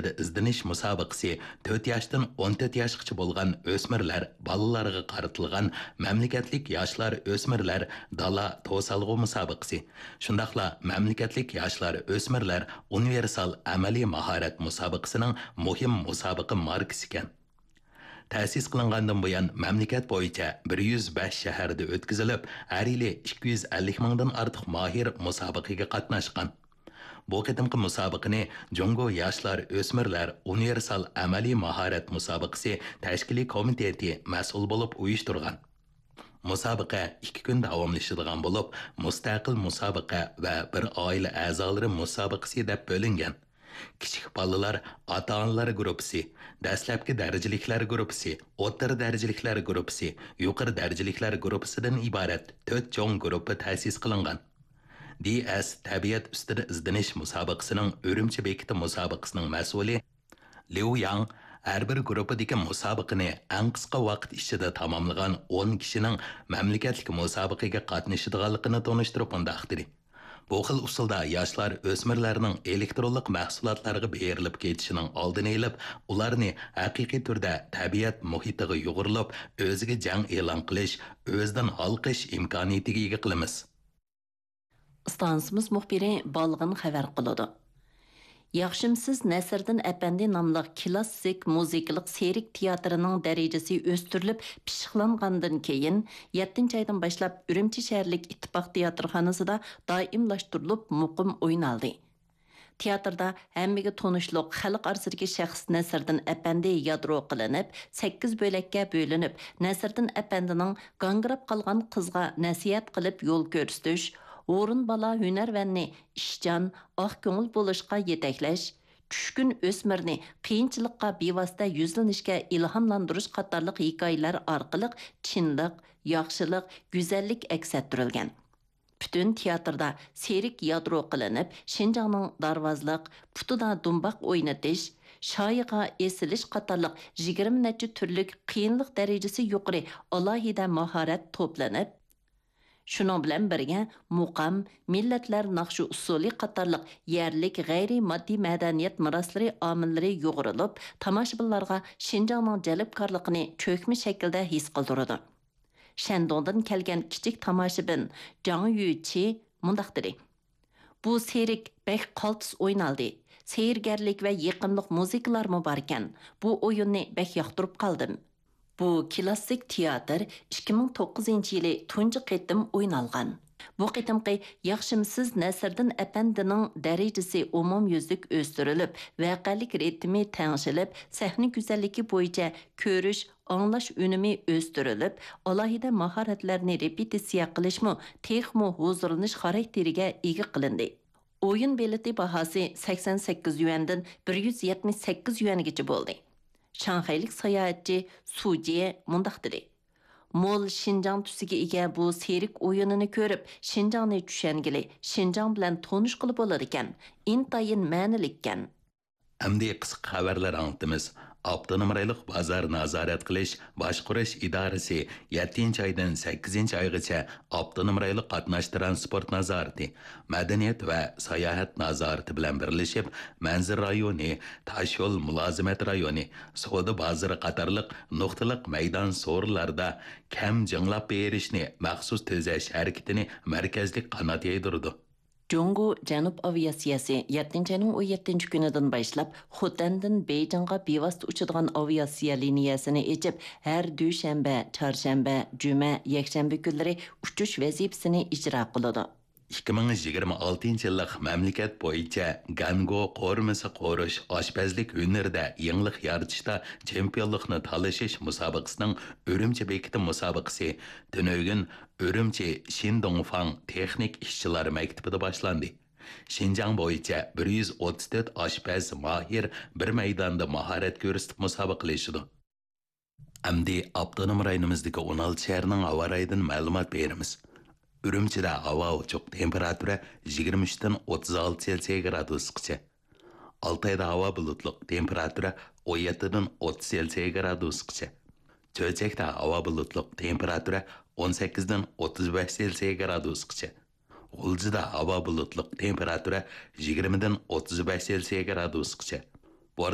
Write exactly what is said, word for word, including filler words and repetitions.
ئىزدىنىش مۇسابىقىسى، تۆت ياشتىن ئون تۆت ياشقىچە بولغان ئۆسمۈرلەر، بالىلارغا قارىتىلغان مەملىكەتلىك ياشلار ئۆسمۈرلەر دالا توسالغۇ مۇسابىقىسى، شۇنداقلا مەملىكەتلىك ياشلار ئۆسمۈرلەر ئۇنىۋېرسال ئەمەلىي ماھارەت مۇسابىقىسىنىڭ مۇھىم مۇسابىقە ماركىسىكەن. تەسىس قىلىنغاندىن بۇيان، مەملىكەت بويىچە بىر يۈز بەش شەھەردە ئۆتكۈزۈلۈپ، ھەر يىلى ئىككى يۈز ئەللىك مىڭدىن ئارتۇق ماھىر مۇسابىقىگە قاتناشقان. بۇ قېتىمقى مۇسابىقىنى جۇڭگو ياشلار ئۆسمۈرلەر ئۇنىۋېرسال ئەمەلىي ماھارەت مۇسابىقىسى تەشكىلىي كومىتېتى مەسئۇل بولۇپ ئۇيۇشتۇرغان. مۇسابىقە ئىككى كۈن داۋاملىشىدىغان بولۇپ، مۇستەقىل مۇسابىقە ۋە بىر ئائىلە ئەزالىرى مۇسابىقىسى دەپ بۆلۈنگەن. كىچىك بالىلار، ئاتا-ئانىلار گۇرۇپپىسى، دەسلەپكى دەرىجىلىكلەر گۇرۇپپىسى، ئوتتۇرا دەرىجىلىكلەر گۇرۇپپىسى، يۇقىرى دەرىجىلىكلەر گۇرۇپپىسىدىن ئىبارەت تۆت چوڭ گۇرۇپپا تەسىس قىلىنغان. دى ئەس تەبىئەت ئۈستىدە ئىزدىنىش مۇسابىقىسىنىڭ ئۈرۈمچى بېكىتى مۇسابىقىسىنىڭ مەسئۇلى ليۇ ياڭ ھەر بىر گۇرۇپپىدىكى مۇسابىقىنى ئەڭ قىسقا ۋاقىت ئىچىدە تاماملىغان ئون كىشىنىڭ مەملىكەتلىك مۇسابىقىگە قاتنىشىدىغانلىقىنى تونۇشتۇرۇپ مۇنداق دېدى: بۇ خىل ئۇسۇلدا ياشلار ئۆسمۈرلەرنىڭ ئېلېكترونلۇق مەھسۇلاتلارغا بېرىلىپ كېتىشىنىڭ ئالدىنى ئېلىپ، ئۇلارنى ھەقىقىي تۈردە تەبىئەت مۇھىتىغا يۇغۇرۇلۇپ، ئۆزىگە جەڭ ئېلان قىلىش، ئۆزىدىن ھالقىش ئىمكانىيىتىگە ئىگە قىلىمىز. ئىستانسىمىز مۇخبىرى بالغىن خەۋەر قىلىدۇ. ياخشىمسىز نەسىردىن ئەپەندى ناملىق كىلاسسىك مۇزىكىلىق سېرك تىياتىرىنىڭ دەرىجىسى ئۆستۈرۈلۈپ پىششىقلانغاندىن كېيىن، يەتتىنچى ئايدىن باشلاپ ئۈرۈمچى شەھەرلىك ئىتتىپاق تىياتىرخانىسىدا دائىملاشتۇرۇلۇپ مۇقىم ئوينالدى. تىياتىردا ھەممىگە تونۇشلۇق خەلق ئارىسىدىكى شەخس نەسىردىن ئەپەندى يادرو قىلىنىپ، سەككىز بۆلەككە بۆلۈنۈپ، نەسىردىن ئەپەندىنىڭ گاڭگىراپ قالغان قىزغا نەسىھەت قىلىپ يول كۆرسىتىش، ھۇرۇن بالا ھۈنەرۋەننى ئىشچان، ئاق كۆڭۈل بولۇشقا يېتەكلەش، چۈشكۈن ئۆسمۈرنى قىيىنچىلىققا بىۋاسىتە يۈزلىنىشكە ئىلھاملاندۇرۇش قاتارلىق ھېكايىلەر ئارقىلىق چىنلىق، ياخشىلىق، گۈزەللىك ئەكس ئەتتۈرۈلگەن. پۈتۈن تىياتىردا سېرك يادرو قىلىنىپ، شىنجاڭنىڭ دارۋازلىق، پۇتىدا دۇمباق ئوينىتىش، شايىغا ئېسىلىش قاتارلىق يىگىرمە نەچچە تۈرلۈك قىيىنلىق دەرىجىسى يۇقىرى ئالاھىدە ماھارەت توپلىنىپ، شۇنىڭ بىلەن بىرگە، مۇقام، مىللەتلەر ناخشا ئۇسسۇلى قاتارلىق يەرلىك غەيرىي ماددىي مەدەنىيەت مىراسلىرى ئامىللىرى يۇغۇرۇلۇپ، تاماشىبىنلارغا شىنجاڭنىڭ جەلپكارلىقىنى چۆكمە شەكىلدە ھېس قىلدۇرىدۇ. شەندۇڭدىن كەلگەن كىچىك تاماشىبىن جاڭ يۈچى مۇنداق دېدى: بۇ سېرك بەك قالتىس ئوينالدى. سېھىرگەرلىك ۋە يېقىملىق مۇزىكىلارمۇ باركەن. بۇ ئويۇننى بەك ياقتۇرۇپ قالدىم. بۇ كىلاسسىك تىياتىر ئىككى مىڭ توققۇزىنچى يىلى تۇنجى قېتىم ئوينالغان. بۇ قېتىمقى ياخشىمسىز نەسىردىن ئەپەندىنىڭ دەرىجىسى ئومۇميۈزلۈك ئۆستۈرۈلۈپ، ۋەقەلىك رىتىمى تەڭشىلىپ، سەھنە گۈزەللىكى بويىچە كۆرۈش، ئاڭلاش ئۈنۈمى ئۆستۈرۈلۈپ، ئالاھىدە ماھارەتلەرنى رېپېتىتسىيە قىلىشمۇ تېخىمۇ ھۇزۇرلىنىش خاراكتېرىگە ئىگە قىلىندى. ئويۇن بېلىتى باھاسى سەكسەن سەككىز يۈەندىن بىر يۈز يەتمىش سەككىز يۈەنگىچە بولدى. شاڭخەيلىك ساياھەتچى سۇ جيې مۇنداق دېدى: مول شىنجاڭ تۈسىگە ئىگە بۇ سېرك ئويۇنىنى كۆرۈپ، شىنجاڭنى چۈشەنگىلى، شىنجاڭ بىلەن تونۇشقىلى بولىدىكەن. ئىنتايىن مەنىلىككەن. ئەمدى قىسقا خەۋەرلەر ئاڭلىتىمىز. ئاپتونوم رايونلۇق بازار نازارەت قىلىش، باشقۇرۇش ئىدارىسى يەتتىنچى ئايدىن سەككىزىنچى ئايغىچە ئاپتونوم رايونلۇق قاتناش تىرانسپورت نازارىتى، مەدەنىيەت ۋە ساياھەت نازارىتى بىلەن بىرلىشىپ، مەنزىرە رايونى، تاشيول مۇلازىمەت رايونى، سودا بازىرى قاتارلىق نۇقتىلىق مەيدان سورۇنلاردا كەم جىڭلاپ بېرىشنى مەخسۇس تۈزەش ھەرىكىتىنى مەركەزلىك قانات يايدۇرىدۇ. جۇڭگو جەنۇب ئاۋىئاتسىيەسى يەتتىنچى ئاينىڭ ئون يەتتىنچى كۈنىدىن باشلاپ خوتەندىن بېيجىڭغا بىۋاسىتە ئۇچىدىغان ئاۋىئاتسىيە لىنىيەسىنى ئېچىپ، ھەر دۈشەنبە، چارشەنبە، جۈمە، يەكشەنبە كۈنلىرى ئۇچۇش ۋەزىپىسىنى ئىجرا قىلىدۇ. ئىككى مىڭ يىگىرمە ئالتىنچى يىللىق مەملىكەت بويىچە گەنگو قورۇمىسى قورۇش، ئاشپەزلىك ھۈنىرىدە يېڭىلىق يارىتىشتا چېمپىيونلۇقنى تالىشىش مۇسابىقىسىنىڭ ئۈرۈمچى بېكىتى مۇسابىقىسى تۈنۈگۈن ئۈرۈمچى شىندۇڭفاڭ تېخنىك ئىشچىلار مەكتىپىدە باشلاندى. شىنجاڭ بويىچە بىر يۈز ئوتتۇز تۆت ئاشپەز ماھىر بىر مەيداندا ماھارەت كۆرسىتىپ مۇسابىقىلىشىدۇ. ئەمدى ئاپتونوم رايونىمىزدىكى ئون ئالتە شەھەرنىڭ ھاۋا رايىدىن مەلۇمات بېرىمىز. ئۈرۈمچىدە ھاۋا ئوچۇق، تېمپېراتۇرا يىگىرمە ئۈچتىن ئوتتۇز ئالتە سېلسىيە گرادۇسقىچە. ئالتايدا ھاۋا بۇلۇتلۇق، تېمپېراتۇرا ئون يەتتىدىن ئوتتۇز سېلسىيە گرادۇسقىچە. چۆچەكتە ھاۋا بۇلۇتلۇق، تېمپېراتۇرا ئون سەككىزدىن ئوتتۇز بەش سېلسىيە گرادۇسقىچە. غۇلجىدا ھاۋا بۇلۇتلۇق، تېمپېراتۇرا يىگىرمىدىن ئوتتۇز بەش سېلسىيە گرادۇسقىچە.